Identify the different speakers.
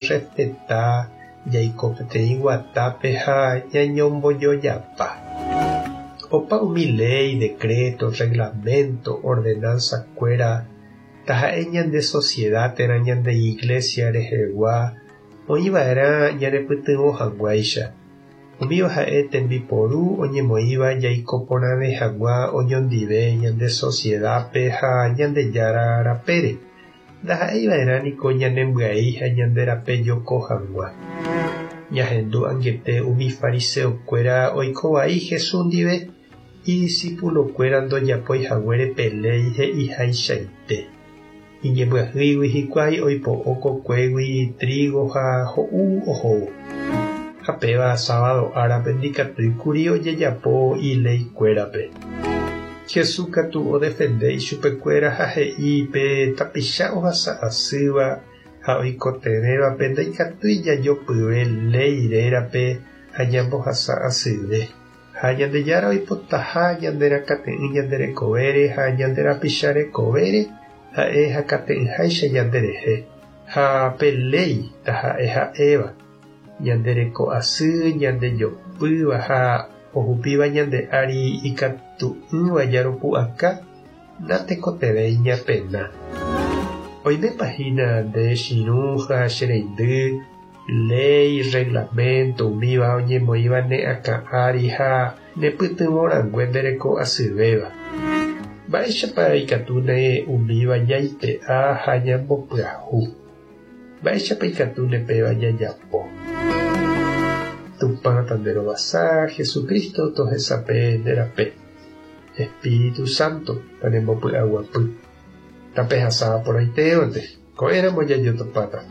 Speaker 1: Jajerrespeta, jaiko peteĩ guatápe ha ñañombojojapa. Opa umi léi, decreto, reglamento, ordenanza-kuéra, taha'e ñande sociedad térã ñande iglesia rehegua, oĩva'erã ñanepytyvõ hag̃uáicha. Umíva ha'e tembiporu oñemoĩva jaiko porãve hag̃ua oñondive ñande sociedad-pe ha Ñandejára rapére. Ndaha'eiva'erã niko ñanembyai ha ñande rape joko hag̃ua. Ñahendu angete umi fariseokuéra oiko vai Jesús ndive, idisipulokuéra ndojapói haguére pe léi he'ihaichaite. Iñembyahýigui hikuái oipo'o kokuégui trígo ha ho'u ohóvo. Ha péva sábado árape ndikatúi kuri ojejapo ileikuérape. Jesús katu odefende ichupekuéra ha he'i pe tapicha ohasa asýva ha oikotevẽvape ndaikatúi jajopyve léi rérape ha ñambohasa asyve. Ha Ñandejára oipotaha ñanderakate'ỹ ñande rekovére ha ñande rapicha rekovére, ha'e hakate'ỹháicha ñanderehe. Ha pe léi taha'e ha'éva, ñande reko asy, ñande jopýva ha ohupíva ñande ári ikatu'ỹva jaropu'aka, natekotevẽi ñapena. Oimépa hína nde chirũ ha che reindy, léi, reglamento, umíva oñemoĩva ne akã ári ha ne pytyvõ rangue nde reko asyvéva. Mba'éichapa ikatúne umíva jaipe'a ha ñambopyahu? Mba'éichapa ikatúne péva jajapo? Tupã tanderovasa, Jesucristo tohesape nde rape. Espíritu Santo tanembopy'aguapy. Tapehasa porãitévante, ko'ẽramo jajotopáta.